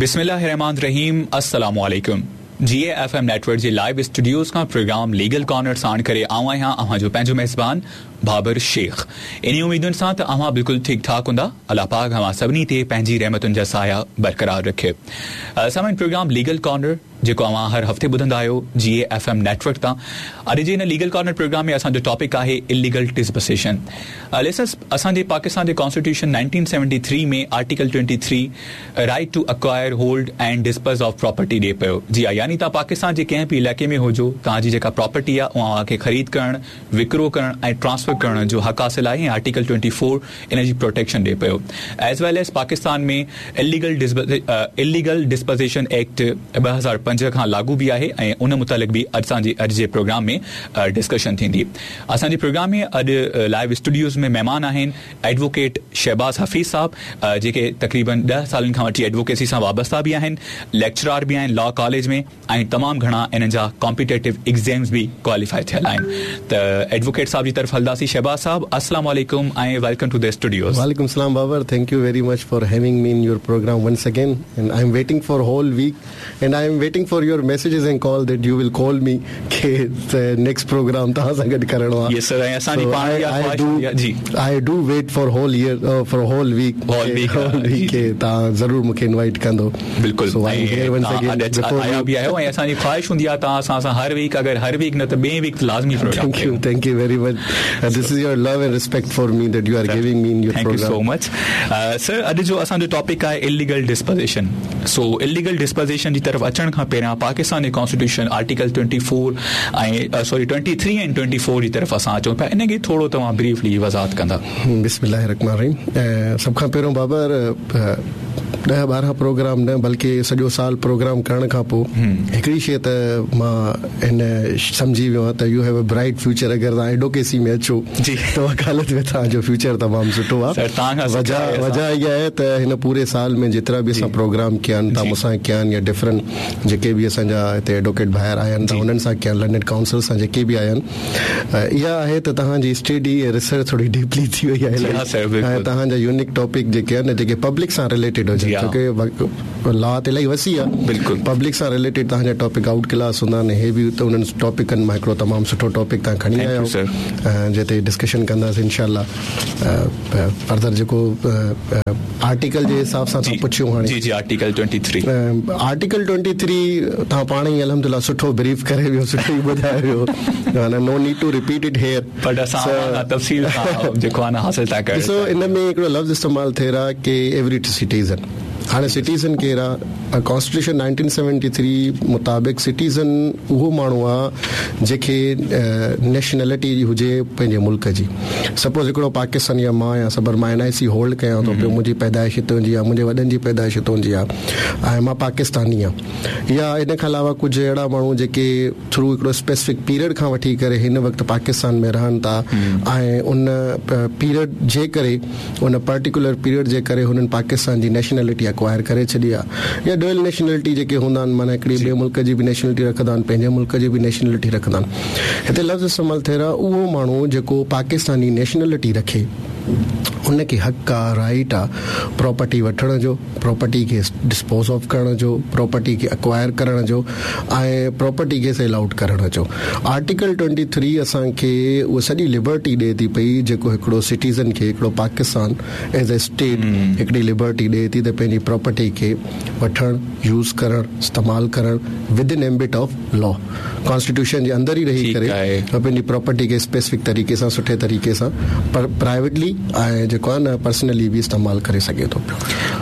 بسم الله الرحمٰن الرحيم السلام عليڪم جي اي ايف ايم نيٽ ورڪ جي لائيو اسٽوڊيوز کان پروگرام ليگل ڪارنر ساڻ ڪري آئون آهيان اوهان جو پنهنجو ميزبان بابر شيخ انهي اميدن سان ته اوهان بلڪل ٺيڪ ٺاڪ هوندا الله پاڪ اوهان سڀني تي پنهنجي رحمتن جا سايا برقرار رکي سامعين پروگرام ليگل ڪارنر جيڪو اوهان هر هفتي ٻڌندا آهيو جي اي ايف ايم نيٽ ورڪ تان. اڄ جي هن ليگل ڪارنر پروگرام ۾ اسان جو ٽاپڪ آهي اليگل ڊسپوزيشن. لسنرز اسان جي پاڪستان جي constitution 1973 ۾ article 23 right to acquire hold and dispose of property ڏي پيو جي ها يعني توهان پاڪستان جي ڪنهن به علائقي ۾ هجو توهان جي جيڪا پراپرٽي آهي اها اوهان کي خريد ڪرڻ وڪرو ڪرڻ ۽ ٽرانسفر ڪرڻ جو حق حاصل آهي ۽ آرٽيڪل 24 ان جي پروٽيڪشن ڏي پيو as well as Pakistan ۾ illegal illegal dispossession act 2005 کان لاڳو به آهي ۽ ان متعلق به اسان جي اڄ جي پروگرام ۾ ڊسڪشن ٿيندي اسان جي پروگرام ۾ اڄ لائيو اسٽوڊيوز ۾ مهمان آهن ايڊووڪيٽ شهباز حفيظ صاحب جيڪي تقريبن 10 سالن کان وٺي ايڊووڪيسي سان وابسته به آهن ليڪچرار به آهن لا ڪاليج ۾ ۽ تمام گهڻا انهن جا ڪامپيٽيٽو ايگزيمز به ڪواليفائي ٿيل آهن ته ايڊووڪيٽ صاحب جي طرف هلنداسين شهباز صاحب السلام عليڪم ۽ welcome to the studios. وعليڪم السلام Babar thank you very much for having me in your programme once again and I am waiting for whole week and I am waiting for your messages and call that you will call me K next programme توهان سان گڏ ڪرڻو آهي. Yes sir ۽ اسان جي پاڻ اها خواهش هوندي آهي جي. I do wait for whole year for whole week whole week K توهان ضرور مون کي انوائيٽ ڪندو. بلڪل آيا به آهيو ۽ اسان جي خواهش هوندي آهي توهان اسان سان هر ويڪ اگر هر ويڪ نه ته ٻئي ويڪ لازمي programme thank you thank you very much this is your love and respect for me that you are giving me in your programme thank you so much sir اڄ جو اسان جو topic آهي illegal disposition سو illegal disposition جي طرف اچڻ کان پهريان پاڪستان جي ڪانسٽيٽيوشن آرٽيڪل 24 ۽ سوري 23 ۽ 24 جي طرف اسان اچون پيا ان کي ٿورو توهان بريفلي وضاحت ڪندا. بسم الله الرحمن الرحيم سڀ کان پهريون بابر ڏهه ٻارهن پروگرام نه بلڪه سڄو سال پروگرام ڪرڻ کان پوء هڪڙي شيء ته مان هن سمجهي ويو آهيان ته you have a bright future اگر توهان ايڊوڪيسي ۾ اچو ته وڪالت ۾ توهان جو فيوچر تمام سٺو آهي وجه وجه اها آهي ته هن پوري سال ۾ جيترا به اسان پروگرام ڪيا آهن توهان مون سان ڪيا آهن يا ڊفرنٽ جيڪي به اسان جا هتي ايڊوڪيٽ ڀائر آيا آهن توهان انهن سان ڪيا آهن لرنيڊ ڪائونسل سان جيڪي به آيا آهن اها آهي ته توهان جي اسٽڊي ۽ ريسرچ ٿوري ڊيپلي ٿي وئي آهي ۽ توهان جا يونيڪ ٽاپڪ جيڪي آهن جيڪي پبلڪ سان رليٽيڊ هجن ڇو ڪي لا ته الاهي وسيع آهي بلڪل پبلڪ سان رليٽيڊ توهان جا ٽاپڪ آئوٽ ڪلاس هوندا آهن هي به ته انهن ٽاپڪن مان هڪڙو تمام سٺو ٽاپڪ توهان کڻي آيا آهيو جنهن تي ڊسڪشن ڪنداسين انشاء الله فردر جيڪو آرٽيڪل جي حساب سان توهان پڇيو هاڻي جي جي آرٽيڪل 23 آرٽيڪل 23 توهان پاڻ ئي الحمدلله سٺو بريف ڪري ويو سٺو ئي ٻڌائي ويو معنيٰ no need to repeat it here but اسان اوهان کان تفصيل سان جيڪو آهي نه حاصل ٿا ڪرڻ ڏسو ان ۾ هڪڙو لفظ استعمال ٿي رهيو آهي ڪي ايوري سٽيزن هاڻي سٽيزن ڪير آ؟ ڪانسٽيٽيوشن 1973 مطابق سٽيزن اهو ماڻهو آ جنهن کي نيشنلٽي هجي پنهنجي ملڪ جي. سپوز هڪڙو پاڪستاني آ مان آهيان سپوز مان اين آء سي هولڊ ڪيان ٿو پيو منهنجي پيدائش هتان جي آ منهنجي وڏن جي پيدائش هتان جي آ ۽ مان پاڪستاني آ يا ان کان علاوه ڪجهه اهڙا ماڻهو جيڪي ٿرو هڪڙو اسپيسفڪ پيريڊ کان وٺي ڪري هن وقت پاڪستان ۾ رهن ٿا ۽ ان پيريڊ جي ڪري ان پرٽيڪولر پيريڊ جي ڪري هنن پاڪستان جي نيشنلٽي اڪوائر ڪري ڇڏي آ يا ڊوئل نيشنلٽي جيڪي هوندا آهن معنيٰ هڪڙي ٻئي ملڪ جي به نيشنلٽي رکندا آهن پنهنجي ملڪ جي به نيشنلٽي رکندا آهن هتي لفظ استعمال ٿي رهيو آهي اهو ماڻهو جيڪو پاڪستاني نيشنلٽي رکي ان کي حق آ رائيٽ آ پراپرٽي وٺڻ جو پراپرٽي کي ڊسپوز آف ڪرڻ جو پراپرٽي کي اڪوائر ڪرڻ جو ۽ پراپرٽي کي سيل آئوٽ ڪرڻ جو آرٽيڪل ٽوئنٽي ٿري اسان کي اها سڄي لبرٽي ڏئي ٿي پئي جيڪو هڪڙو سٽيزن کي هڪڙو پاڪستان ايز اي اسٽيٽ هڪڙي لبرٽي ڏئي ٿي ته پنهنجي پراپرٽي کي وٺڻ يوز ڪرڻ استعمال ڪرڻ with in ambit of law constitution جي اندر ئي رهي ڪري پنهنجي پراپرٽي کي اسپيسفڪ طريقي سان سٺي طريقي سان پر پرائيويٽلي ۽ جيڪو آهي نه پرسنلي به استعمال ڪري سگهي ٿو پيو.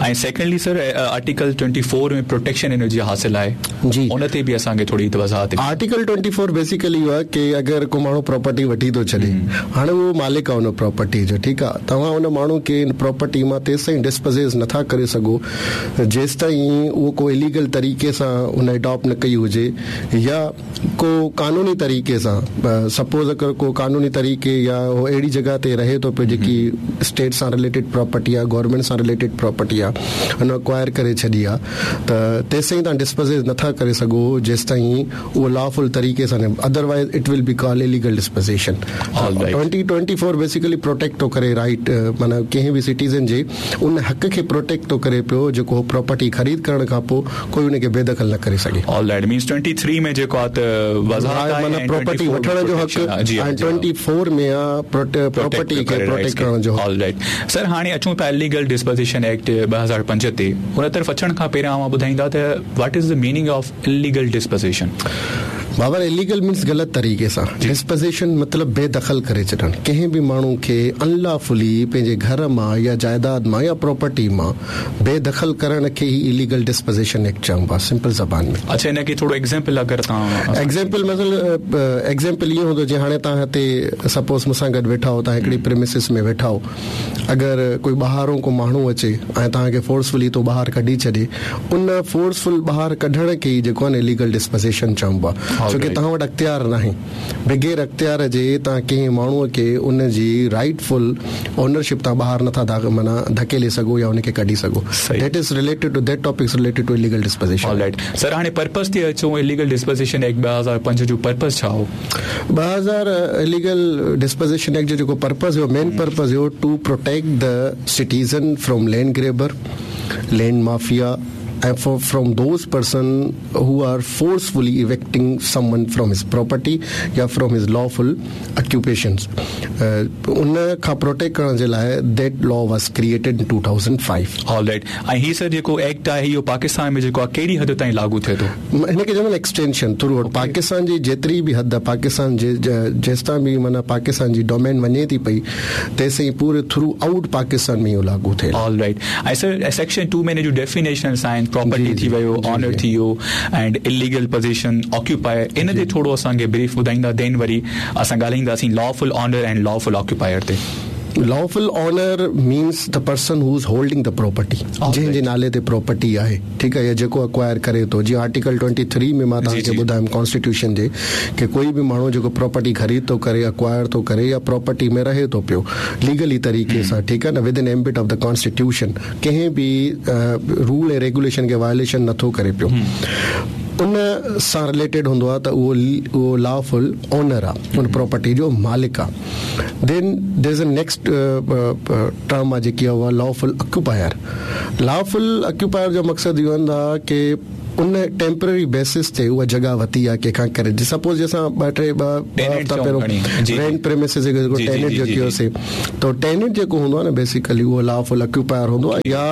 ۽ سيڪنڊلي سر آرٽيڪل 24 ۾ پروٽيڪشن ان جي حاصل آهي جي ان تي به اسان کي ٿوري وضاحت ڏيو. آرٽيڪل 24 بيسيڪلي اهو آهي ڪي اگر ڪو ماڻهو پراپرٽي وٺي ٿو ڇڏي هاڻي اهو مالڪ آهي ان پراپرٽي جو ٺيڪ آهي توهان ان ماڻهو کي ان پراپرٽي مان تيستائين ڊسپزيس نٿا ڪري سگهو جيستائين اهو ڪو اليگل طريقي سان ان اڊاپٽ نه ڪئي هجي يا ڪو قانوني طريقي سان سپوز اگر ڪو قانوني طريقي يا هو اهڙي جڳهه تي رهي ٿو پيو جيڪي اسٽيٽ سان رليٽيڊ پراپرٽي آهي گورنمينٽ سان رليٽيڊ پراپرٽي آهي ان اڪوائر ڪري ڇڏي آهي ته تيسين توهان ڊسپزيس نٿا ڪري سگهو جيستائين اهو لافل طريقي سان نه otherwise it will be call illegal dispossession 2024 basically protect ٿو ڪري رائيٽ معنيٰ ڪنهن به سٽيزن جي ان حق کي پروٽيڪٽ ٿو ڪري پيو جيڪو هو پراپرٽي خريد ڪرڻ کان پوء ڪوئي ان کي بي دخل نه ڪري سگهي. آل رائيٽ مينز 23 ۾ جيڪو آ ته وضاحت آهي معنيٰ پراپرٽي وٺڻ جو حق ۽ 24 ۾ آ پراپرٽي کي پروٽيڪٽ ڪرڻ جو حق. آل رائيٽ سر هاڻي اچون ٿا اليگل ڊسپوزيشن ايڪٽ 2005 تي ان طرف اچڻ کان پهريان اوهان ٻڌائيندا ته what is the meaning of illegal dispossession. Babar illegal means غلط طريقي سان ڊسپزيشن مطلب بي دخل ڪري ڇڏڻ ڪنهن به ماڻهو کي ان لافلي پنهنجي گهر مان يا جائيداد مان يا پراپرٽي مان بي دخل ڪرڻ کي ئي اليگل ڊسپزيشن ايڪٽ چئبو آهي سمپل زبان ۾. اڇا ان کي ٿورو ايگزيمپل اگر توهان ايگزيمپل مطلب ايگزيمپل ائين هوندو جيئن هاڻي توهان هتي سپوز مون سان گڏ ويٺا آهيو توهان هڪڙي پريمسز ۾ ويٺا آهيو اگر ڪوئي ٻاهرون ڪو ماڻهو اچي ۽ توهان کي فورسفلي اتو ٻاهر ڪڍي ڇڏي ان فورسفل ٻاهر ڪڍڻ کي ئي جيڪو آهي نه اليگل ڊسپزيشن چئبو آهي ڇو ڪي توهان وٽ اختيار ناهي بغير اختيار جي توهان ڪنهن ماڻهو کي ان جي رائيٽ فل اونرشپ تان ٻاهر نٿا معنيٰ ڌڪيلي سگهو يا ان کي ڪڍي سگهو that is related to that topic is related to illegal dispossession. All right sir هاڻي پرپز تي اچون اليگل ڊسپزيشن ايڪٽ 2005 جو پرپز ڇا هو؟ 2000 اليگل ڊسپزيشن ايڪٽ جو جيڪو پرپز هيو مين purpose have to protect the citizen from land grabber, land mafia ۽ from those person who are forcefully evicting someone from his property يا فرام his lawful occupations ان کان protect ڪرڻ جي لاء that law was created in 2005. All right ۽ هي سر جيڪو act آهي اهو پاڪستان ۾ جيڪو آهي ڪهڙي حد تائين لاڳو ٿئي ٿو؟ هن کي چوندا آهن ايڪسٽينشن ٿرو آئوٽ پاڪستان جي جيتري به حد پاڪستان جي جيستائين به معنيٰ پاڪستان جي ڊومين وڃي ٿي پئي تيسين پوري ٿرو آئوٽ پاڪستان ۾ اهو لاڳو ٿئي. آل رائيٽ ۽ سر سيڪشن 2 ۾ ان جون ڊيفينيشنس آهن پراپرٽي ٿي ويو آنر ٿي ويو اينڊ اليگل پوزيشن آڪيوپائر ان تي ٿورو اسان کي بريف ٻڌائيندا دين وري اسان ڳالهائينداسين lawful owner and lawful occupier تي. Lawful owner means the person who is holding the property جنهن جي نالي تي پراپرٽي آهي ٺيڪ آهي يا جيڪو اڪوائر ڪري ٿو جيئن آرٽيڪل ٽوئنٽي ٿري ۾ مان توهان کي ٻڌايم ڪانسٽيٽيوشن جي ڪي ڪوئي به ماڻهو جيڪو پراپرٽي خريد ٿو ڪري اڪوائر ٿو ڪري يا پراپرٽي ۾ رهي ٿو پيو ليگلي طريقي سان ٺيڪ آهي نه within ambit of the constitution ڪنهن به رول ۽ ريگوليشن کي وائليشن نٿو ڪري پيو ان سان رليٽيڊ هوندو آهي ته اهو اهو لافل اونر آهي ان پراپرٽي جو مالڪ آهي then there is a next term آهي جيڪي آهي اها لافل اڪيوپائر لافل اڪيوپائر جو مقصد اهو هوندو آهي ڪي ان ٽيمپرري بيسس تي اها جڳهه ورتي آهي ڪنهن کان ڪري سپوز جي اسان ٻه ٽي ٻه هفتا پهريون رينٽ پريمسز جيڪو ٽيننٽ جو ڪيوسي ته ٽيننٽ جيڪو هوندو آهي نه بيسيڪلي اهو لافل اڪيوپائر هوندو آهي يا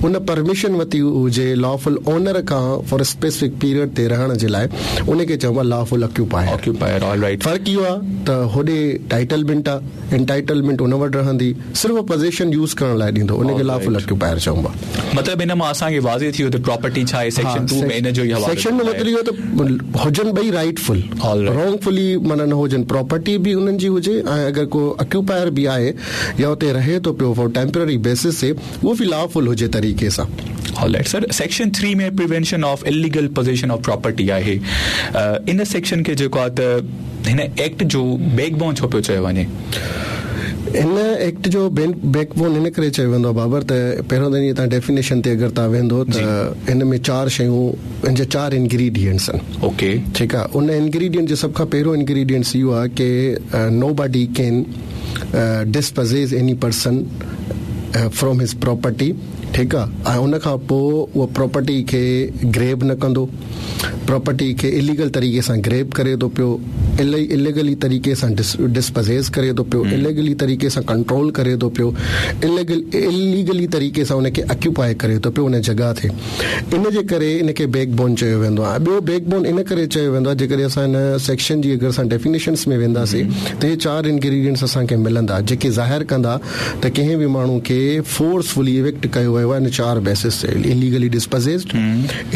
ان پرميشن ورتي هجي لافل اونر کان فار اسپيسفڪ پيريڊ تي رهڻ جي لاء ان کي چئبو آهي لافل اڪيوپائر آڪيوپائر آل رائيٽ فرق اهو آهي ته هوڏي ٽائيٽلمينٽ آهي انٽائيٽلمينٽ ان وٽ رهندي صرف پزيشن يوز ڪرڻ لاء ڏيندو ان کي لافل اڪيوپائر چئبو آهي. مطلب ان مان اسان کي واضح ٿي ويو ته پراپرٽي ڇا آهي سيڪشن 2 ۾ ان جو ئي حوالو سيڪشن جو مطلب اهو ته هجن ٻئي رائيٽ فل رانگ فلي معنيٰ نه هجن پراپرٽي به انهن جي هجي ۽ اگر ڪو اڪيوپائر به آهي يا اتي رهي ٿو پيو فار ٽيمپرري بيسس تي اهو به لافل هجي طريقي سان. All right sir section 3 ۾ prevention of illegal possession of property آهي ان سيڪشن کي جيڪو آهي ته هن ايڪٽ جو بيڪ بون ڇو پيو چيو وڃي؟ هن ايڪٽ جو بيڪ بون ان ڪري چيو ويندو آهي بابر ته پهريون ته توهان ڊيفينيشن تي اگر توهان ويندو ته هن ۾ چار شيون ان جا چار انگريڊينٽس آهن اوڪي ٺيڪ آهي ان انگريڊينٽ جو سڀ کان پهريون انگريڊينٽس اهو آهي ڪي nobody can dispossess any person from his property ٺيڪ آهي ۽ ان کان پوء اها پراپرٽي کي گريب نه ڪندو پراپرٽي کي اليگل طريقي سان گريب ڪري ٿو پيو اليگلي طريقي سان ڊسپزيز ڪري ٿو پيو اليگلي طريقي سان ڪنٽرول ڪري ٿو پيو اليگلي طريقي سان ان کي اڪيوپائي ڪري ٿو پيو ان جڳهه تي ان جي ڪري ان کي بيڪ بون چيو ويندو آهي ٻيو بيڪ بون ان ڪري چيو ويندو آهي جيڪڏهن اسان ان سيڪشن جي اگر اسان ڊيفينيشنس ۾ وينداسين ته هي چار انگريڊينٽس اسان کي ملندا جيڪي ظاهر ڪندا ته ڪنهن به ماڻهو کي فورسفلي ايوڪٽ ڪيو ويو آهي ان چار بيسس تي illegally dispossessed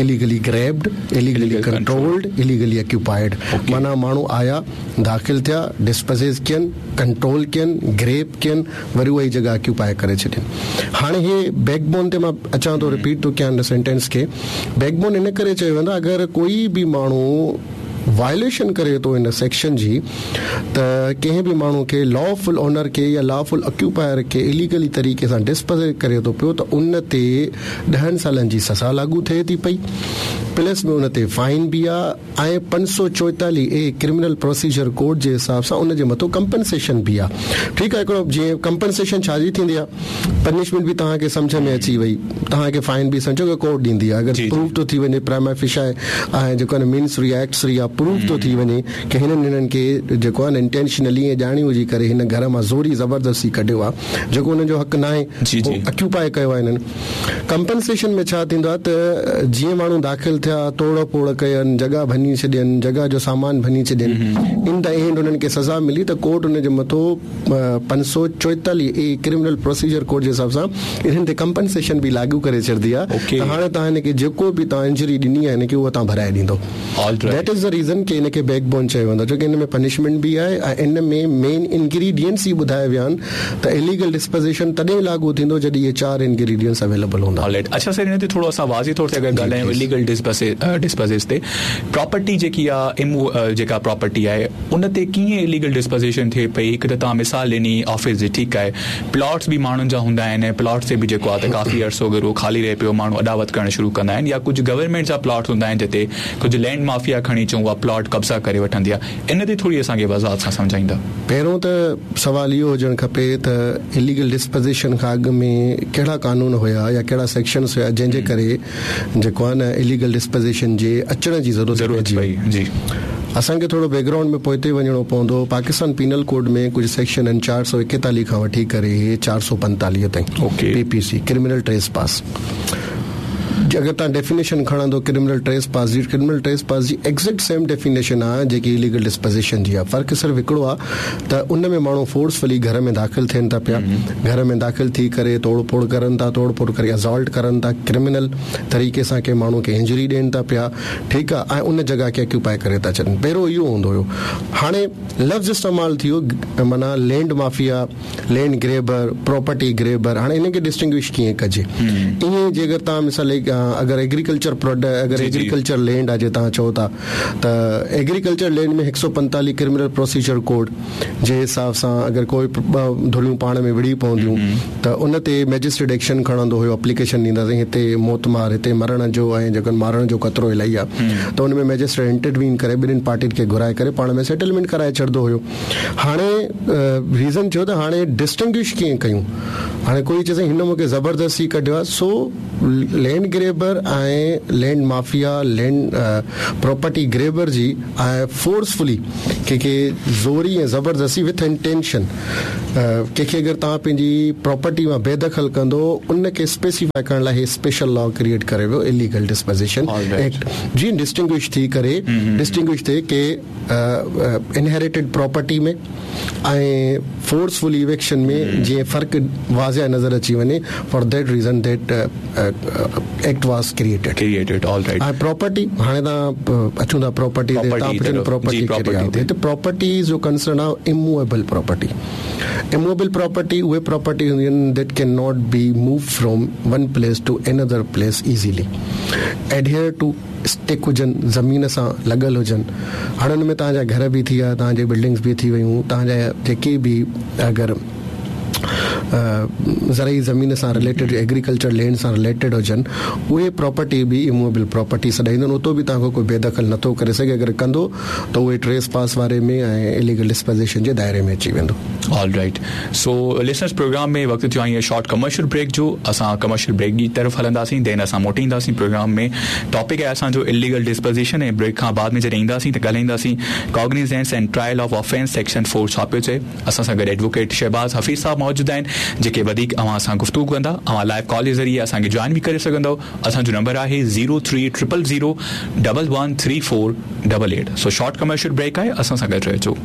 illegally grabbed, illegally controlled, illegally occupied معنيٰ ماڻهو آيا، داخل ٿيا، ڊسپزيز ڪين، ڪنٽرول ڪين، گريب ڪين، وري اها ئي جڳهه اڪيوپائي ڪري ڇڏين. هاڻي هي بيڪ بون تي مان اچان ٿو رپيٽ ٿو ڪيان هن سينٽينس کي. بيڪ بون ان ڪري چيو ويندو آهي اگر ڪوئي به ماڻهو وائليشن ڪري ٿو ان سيڪشن جي ته ڪنهن به ماڻهو کي لافل اونر کي يا لافل اڪيوپائر کي اليگلي طريقي سان ڊسپوز ڪري ٿو پيو ته ان تي ڏهن سالن جي سزا لاڳو ٿئي ٿي پئي پلس ۾ ان تي فائن به آ ۽ 544 اي ڪرمنل پروسيجر ڪوڊ جي حساب سان ان جي مٿو ڪمپنسيشن به آ ٺيڪ آ هڪڙو جيئن ڪمپنسيشن ڇا جي ٿيندي آ پنشمينٽ به توهان کي سمجهه ۾ اچي وئي توهان کي فائن به سمجهو ڪه ڪورٽ ڏيندي آهي اگر پروف ٿو ٿي وڃي پرائما فيشا ۽ جيڪو آهي مينس ريا ايڪس ريا پروف ٿو ٿي وڃي ڪه هنن هنن کي جيڪو آهي نه انٽينشنلي ۽ ڄاڻي ٻجهي ڪري هن گهر مان زوري زبردستي ڪڍيو آهي جيڪو هنن جو حق ناهي اڪيوپائي ڪيو آهي هنن ڪمپنسيشن ۾ ڇا ٿيندو آهي ته جيئن ماڻهو داخل ٿيا توڙ ڦوڙ ڪين جڳهه ڀڃي ڇڏين جڳهه جو سامان ڀڃي ڇڏين ان the and هنن کي سزا ملي ته ڪورٽ ان جي مٿو 544 اي ڪرمنل پروسيجر ڪوڊ جي حساب سان انهن تي ڪمپنسيشن به لاڳو ڪري ڇڏندي آهي ته هاڻي توهان هن کي جيڪو به توهان انجري ڏني آهي هن کي اها توهان ڀرائي ڏيندو that is the reason ڪي هن کي بيڪ بون چيو ويندو آهي ڇو ڪي هن ۾ پنشمينٽ به آهي ۽ ان ۾ مين انگريڊينٽس ئي ٻڌايا ويا آهن ته اليگل ڊسپوزيشن تڏهن لاڳو ٿيندو جڏهن اهي چار انگريڊينٽس اويليبل هوندا. آلرائيٽ اڇا سر هن تي ٿورو اسان واضح طور تي اگر ڳالهايون اليگل ڊسپوزيس تي پراپرٽي جيڪي آهي جيڪا پراپرٽي آهي ان تي ڪيئن اليگل ڊسپوزيشن ٿئي پئي هڪ ته توهان مثال ڏني آفيس جي ٺيڪ آهي پلاٽس به ماڻهن جا هوندا آهن ۽ پلاٽس تي به جيڪو آهي ته ڪافي عرصو اگر اهو خالي رهي پيو ماڻهو اڏاوت ڪرڻ شروع ڪندا آهن يا ڪجهه گورنمينٽ جا پلاٽس هوندا آهن جتي ڪجهه لينڊ مافيا کڻي چئون اها پلاٽ قبضا ڪري وٺندي آهي ان تي ٿوري اسان کي وضاحت سان سمجهائيندا. پهريون ته سوال اهو هجڻ کپي ته اليگل ڊسپوزيشن کان اڳ ۾ ڪهڙا قانون هيا يا ڪهڙا سيڪشنس هيا جنهن جي ڪري جيڪو آهي نه اليگل ڊسپوزيشن جي اچڻ جي ضرورت پئجي وئي. اسان کي ٿورو بيڪ گرائونڊ ۾ پوئتي وڃڻو پوندو. پاڪستان پينل ڪوڊ ۾ ڪجهه سيڪشن آهن 441 کان وٺي ڪري 445 تائين P P C criminal trespass جي اگر توهان ڊيفينيشن کڻندو ڪرمنل ٽريس پاس جي ڪرمنل ٽريس پاس جي ايگزيڪٽ سيم ڊيفينيشن آهي جيڪي اليگل ڊسپوزيشن جي آهي فرق صرف هڪڙو آهي ته ان ۾ ماڻهو فورسفلي گهر ۾ داخل ٿين ٿا پيا گهر ۾ داخل ٿي ڪري توڙ ڦوڙ ڪرن ٿا توڙ ڦوڙ ڪري اسالٽ ڪرن ٿا ڪرمنل طريقي سان ڪنهن ماڻهو کي انجري ڏين ٿا پيا ٺيڪ آ ۽ ان جڳهه کي اڪيوپائي ڪري ٿا ڇڏن پهريون اهو هوندو هيو هاڻي لفظ استعمال ٿي ويو معنيٰ land mafia land grabber property grabber هاڻي انهن کي ڊسٽنگوش ڪيئن ڪجي ائين جي اگر توهان مثال اگر ايگريڪلچر پروڊڪٽ اگر ايگريڪلچر لينڊ آ جي توهان چئو ٿا ته agriculture land ۾ 145 criminal procedure code جي حساب سان اگر ڪوئي ٻه ڌريون پاڻ ۾ وڙهي پونديون ته ان تي مئجسٽريٽ ايڪشن کڻندو هيو اپليڪيشن ڏينداسين هتي موت مار هتي مرڻ جو ۽ جيڪو مارڻ جو خطرو الاهي آهي ته ان ۾ مئجسٽريٽ انٽروين ڪري ٻنهين پارٽين کي گهرائي ڪري پاڻ ۾ سيٽلمينٽ ڪرائي ڇڏندو هيو هاڻي ريزن ٿيو ته هاڻي ڊسٽنگوش ڪيئن ڪيون هاڻي ڪوئي چئي سائين هن مونکي زبردستي ڪڍيو آهي سو land grabber ۽ land mafia land property grabber جي ۽ فورسفلي ڪنهن کي زوري ۽ زبردستي وٿ انٽينشن ڪنهن کي اگر توهان پنهنجي پراپرٽي مان بيدخل ڪندو ان کي اسپيسيفائي ڪرڻ لاء هي اسپيشل لا ڪريئيٽ ڪري ويو اليگل ڊسپوزيشن ايڪٽ جيئن ڊسٽنگوش ٿي ڪري ڊسٽنگوش ٿئي ڪي انهيريٽيڊ پراپرٽي ۾ ۽ فورسفل ايويڪشن ۾ جيئن فرق واضح نظر اچي وڃي for that reason that act was created. Created all right. ۽ Property هاڻي توهان اچون ٿا پراپرٽي تي توهان پڇو پراپرٽي ڪهڙي آهي هتي پراپرٽي جو ڪنسرن آهي اموويبل پراپرٽي اموويبل پراپرٽي اهي پراپرٽي هونديون آهن that can not be move from one place to another place easily adhere to stick هجن، زمين سان لڳل هجن. هاڻي ان ۾ توهان جا گهر به ٿي ويا، توهان جي بلڊنگس به ٿي ويون، توهان جا جيڪي به اگر زرعي زمين سان رليٽيڊ ايگريڪلچر لينڊ سان رليٽيڊ هجن، اهي پراپرٽي به اموويبل پراپرٽي سڏائينديون آهن. اتو به توهان کان ڪوئي بي دخل نٿو ڪري سگهي، اگر ڪندو ته اهي ٽريس پاس واري ۾ ۽ اليگل ڊسپوزيشن جي دائري ۾ اچي ويندو. All right so listeners programme ۾ وقت ٿيو آهي شارٽ ڪمرشل بريڪ جو اسان ڪمرشل بريڪ جي طرف هلنداسين دين اسان موٽي اينداسين پروگرام ۾ ٽاپڪ آهي اسان جو اليگل ڊسپوزيشن ۽ بريڪ کان بعد ۾ جڏهن اينداسين ته ڳالهائينداسين cognizance and trial of offence section 4 ڇا پيو چئي اسان سان گڏ ايڊووڪيٽ شهباز حفيظ صاحب موجود آهن جيڪي وڌيڪ اوهان سان گفتگو ڪندا اوهان لائيو ڪال جي ذريعي اسان کي جوائن به ڪري سگهندؤ اسان جو نمبر آهي zero three triple zero double one three four double eight so short commercial break آهي اسان سان گڏ رهجو.